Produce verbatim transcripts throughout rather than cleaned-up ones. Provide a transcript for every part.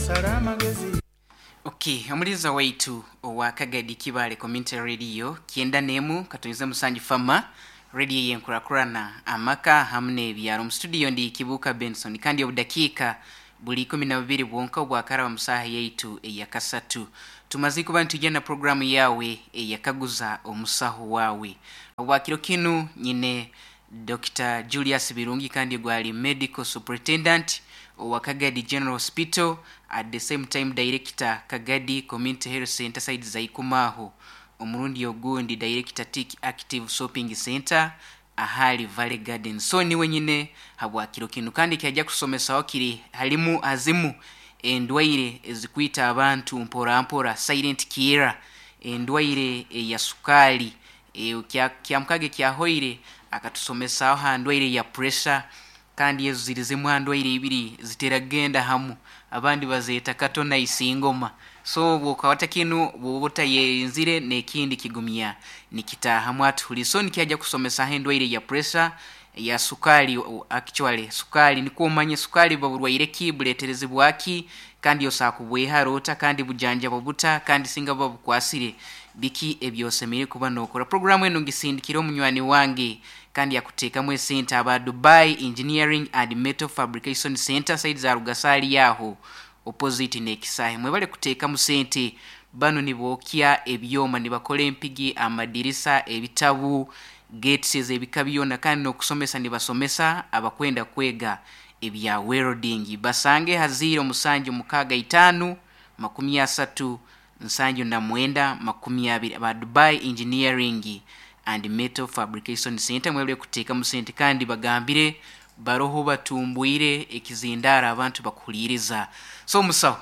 Nsala amagezi. Okay, omuliza waitu owa Kagadi Kibale Community Radio kyenda nemu katonyize musanju fama radio yenkurakurana amaka hamwe n'ebyaro. Mu studio ndi Kibuka Benson, kandi obudakiika buli ikumi na bubiri bwonka obwakaraba mu saaha yaitu eyakasatu. Tumaze kuba nitujya na programu yawe eyakaguza omusaho wawe. Obwakiro kinu nyine Doctor Julius Birungi, kandi gwali medical superintendent owa Kagadi General Hospital, at the same time director Kagadi Community Health Center side za Ikumaho, omurundi ogundi director Tik Active Shopping Center ahali Valley Garden. So niwe nyine habwakiro kinu, kandi kyajja kusomesaho kiri halimu azimu endwaire ezikwita abantu mpora mpora, silent killer, endwaire eya sukali. E, kya, kya mukage kyahoire akatusomesaho ha ndwaire ya pressure, kandi ezo ziri zimwe ha ndwaire ibiri ziteragenda hamu, abandi bazeeta kato na isingoma. So bwokawata kinu bwoba otayerinzire n'ekindi kigumya nikitaahamu atuhuri. So nikyajja kusomesaho endwaire ya pressure, ya sukali. Actually sukali nikwo omanye sukali baburwaire ki, buleeterezibwa ki, kandi osakubwehara ota, kandi bujanjaba buta, kandi singa babukwasire biki ebyosemire kuba nokora. Programu eno ngisindikire omunywani wange kandi yakuteekamu esente aba Dubai Engineering and Metal Fabrication Center side za Rugasali yaho opposite n'ekisahe. Mwebale kuteekamu sente, bano nibookya ebyoma, nibakora empigi, amadirisa, ebitabu, gates ez'ebika byona, kandi n'okusomesa nibasomesa abakwenda kwega ebya welding. Basange haziire omusanju mukaaga itaano makumi asatu nsanju na mwenda makumi abiri aba Dubai Engineering and Metal Fabrication Center. Mwebale kuteekamu sente, kandi bagambire baroho batumbwire ekizindaara abantu bakuhuliriza. So musaho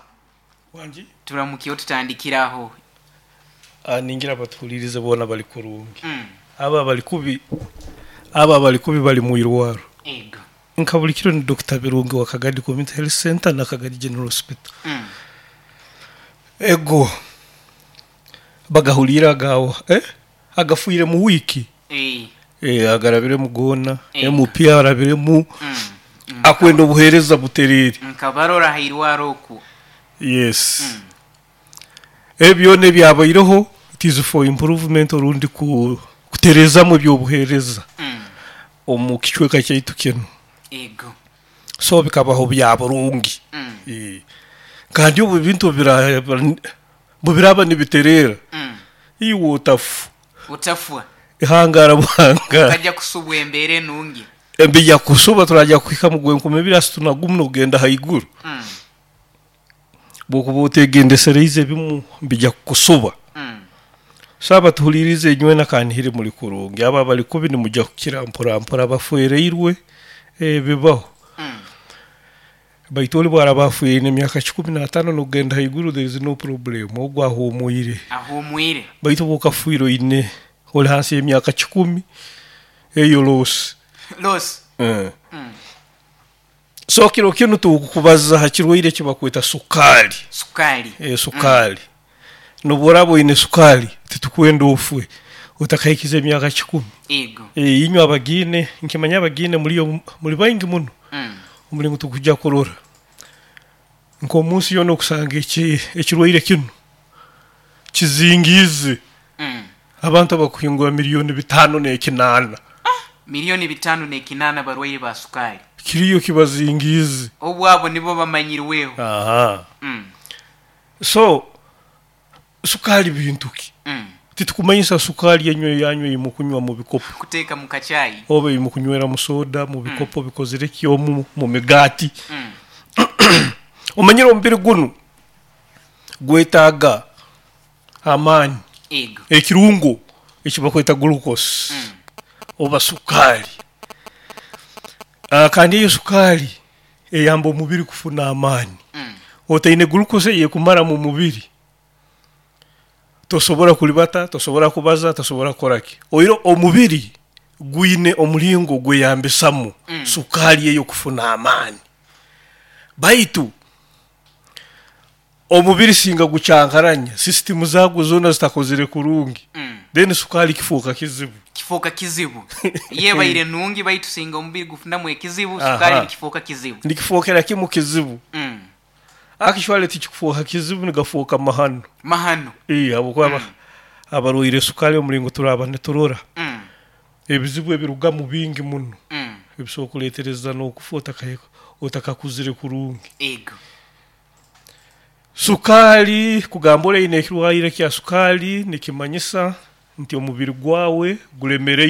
wangi, turamukiyo tutandikiraho. Ah, ningira batuhulirize boona bali kurungi. mm. Aba bali kubi, aba bali kubi bali mu irwaro. Ego. Nka buli kiro ni Doctor Birungi wa Kagadi Community Health Center na Kagadi General Hospital. mm. Ego bagahulira gawo eh agafuire mu wiki. Eh. Eh agarabire mu gona. Ego. M P arabire mu mm. Mm. akwenda obuhereza buterere. Nkabarora hairwaro oku. Yes. mm. Ebyo ne byabaireho, it is for improvement orundi ku kuterezamu ebyobuhereza mm. omu kicweka kyaitu kinu. Ego. So bikabaho bya burungi. mm. Eh. Kandi ubu bintu bira bubiraba nibiterera. mm. Iwe utafu. Utafua. Ihangara buhanga. Kajja kusubwa embere nungi. Embija kusuba turajya kuhika mu gwe nkumi bibiri asatu na gumu nogenda haiguru. mm. Bokuba otegendesereize bimu mbija kusuba. mm. Saba tuhulirize enywe na kanihire muri kurungi. Aba bali kubi nimujja kukira mpora mpora bafuereirwe eh bibaho. mm. Baitu oli bwara bafuire n'emyaka kikumi na tano nogenda haiguru, there is no problem. Ogwa ahumwire. Ahumwire. Baitu bokafuire oine oli hansi y'emyaka kikumi eyo loss. Loss. Mm. Mm. So kiro kinu tukubaza hakirwaire kibakweta sukali. Sukali. Eh sukali. Mm. Noborabo ine sukali titukwenda ofwe utakaikize emyaka kikumi. Ego. Eh inywa abagine nkimanya abagine muri muri baingi muno. Mm. Omulingo tukujja kurora. Nko munsi yono okusanga eki ekirwaire kinu kizingize. Mm. Abantu abakuhingura miliyoni bitano n'ekinana. Ah, miliyoni bitano n'ekinana barwaire ba sukali. Kiriyo kibazingize. Obwabo nibo bamanyirweho. Aha. Mm. So sukali bintuki. Mm. Titukumanyisa sukali enywe yanywe imukunywa mu bikopo. Kuteeka mu kachai. Obe imukunywera mu soda mu bikopo mm. bikozere kyomu mu migati. Mm. Omanyira omubiri guno gwetaaga amaani. Ego. Ekirungo ekibakweta glucose. Mm. Oba sukali. Uh, kandi eyo sukali eyamba omubiri kufuna amaani. Mm. Otaine glucose yekumara mu mubiri. Tosobora kulibata, tosobora kubaza, tosobora koraki. Oiro omubiri gwine omulingo gweyambisamu mm. sukali eyo kufuna amaani. Baitu omubiri singa gucyankaranya, system zago zona zitakozere kurungi. Mm. Then sukali kifuka kizibu. Kifuka kizibu. Ye baire nungi baitu singa omubiri gufunamu ekizibu, sukali kifuka kizibu. Nikifokera kimu kizibu. Mm. Actually tikikufuuka kizibu, nigafuuka mahano. Mahano. Ee, habwokuba mm. abarwaire sukali omulingo turaba niturora mm. ebizibu ebirugamu bingi muno mm. ebisobola kuleetereza n'okufa otaka- otakakuzire kurungi. Ego. Sukaali, kugamba oraine ekirwaire kya sukaali nikimanyisa nti omubiri gwawe gulemereirwe.